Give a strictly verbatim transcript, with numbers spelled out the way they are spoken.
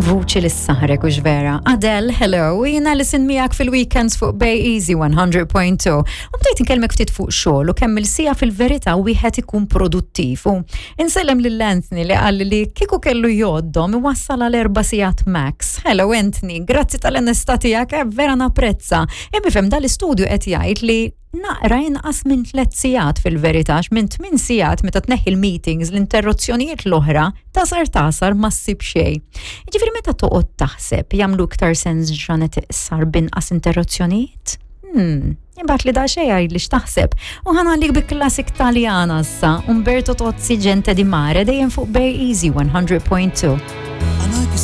Vuċi li ssaħrek u vera. Adele, hello, jiena li sin miegħek fil-weekends fuq Bay Easy one hundred point two. U bdejt nkellmek ftit fuq xogħol u kemm il-siegħa fil-verità wieħed ikun produttiv. U insellem lil Anthony li qal li kieku kellu jgħoddhom iwassal għal erba' sigħat max. Hello Anthony, grazzi tal-onestà tiegħek, eh, vera napprezza. Imma fem dal-istudju qed jgħid li naqra inqas minn tliet sigħat fil-verità, minn tmien sigħat meta tneħħi l-meetings, l-interruzzjonijiet l-oħra, tasar tasar ma ssib xejn. Jiġifieri meta toqgħod taħseb, jagħmlu iktar sens ġranet iqsar binqas interruzzjonijiet? Hmm, Imbagħad li da xejn li x'taħseb. U ħa nħallik bi classic Taljana issa, Umberto Tozzi, Gente di Mare, dejjem fuq Bay Easy one hundred point two. A noi che